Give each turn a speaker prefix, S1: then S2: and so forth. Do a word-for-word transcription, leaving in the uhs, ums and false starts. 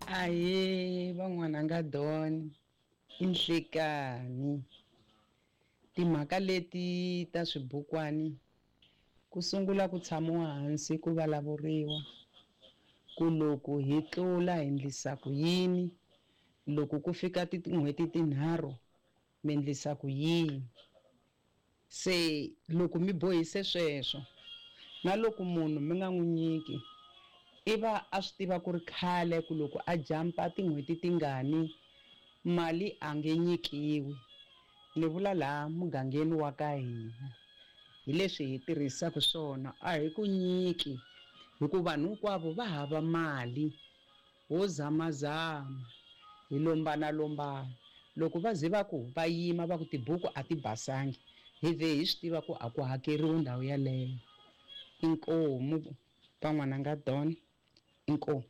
S1: Ahee van'wananga Don, i nhlekani. Timhaka leti ta swibukwani ku sungula ku tshamiwa hansi ku vulavuriwa ku loko hi tlula hi endlisa ku yini, loko ku fika tin'hweti tinharhu mi endlisa ku yini. Se loko mi bohise sweswo na loko munhu mi nga n'wi nyiki i va a swi tiva ku ri khale ku loko a jampa tin'hweti tingani mali a nge nyikiwi. Ni vula laha mugangeni wa ka hina hi leswi hi tirhisaka swona a hi ku nyiki hikuva vanhu hinkwavo va hava mali ho zamazama hi lombanalombana. Loko va ze va ku va yima va ku tibuku a ti basangi hi vhe hi swi tiva ku a ku hakeriwi ndhawu yaleyo. Inkomu van'wananga Don, inkomu.